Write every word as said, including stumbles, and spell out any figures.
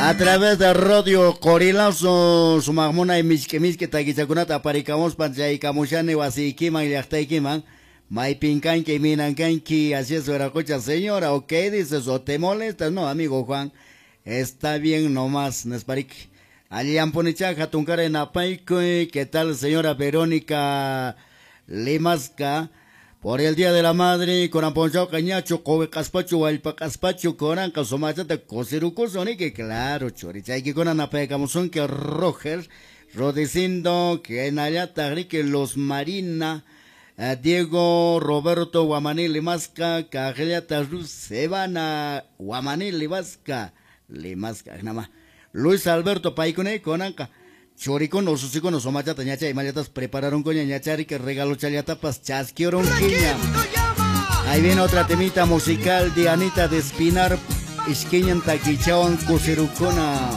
A través de Radio Qorilazo, sumaq munay misk'i misk'i takichakunata aparikamuspa chaykamushani wasiykiman llaqtaykiman. Maypin kanki, minan kanki, así es, Veracocha, señora, ok, dices, o te molestas, no, amigo Juan, está bien nomás, nisparik. Allinpunichá hatunkaray napaykuy, ¿qué tal, señora Verónica Limasca? Por el Día de la Madre, kunan p'unchawqa ñachu quwi q'aspachu wallpa q'aspachu kunanqa sumachata kusirukusun niki, claro, churichaykikuna napaykamusunki Roger, Rodecindo, hinallataq riki Luz Marina, Diego Roberto Guamaní Limasca, kaqllata Ruth Sebana Guamaní Limasca, Limasca, nama. Luis Alberto paykuna kunanqa churikuna ususikuna sumachata ñacha imallatas prepararunkuña ñachariki regalochallatapas chaskirunkiña. Ahí viene otra temita musical de Anita de Espinar, ishkiñan takichawan kusirukuna.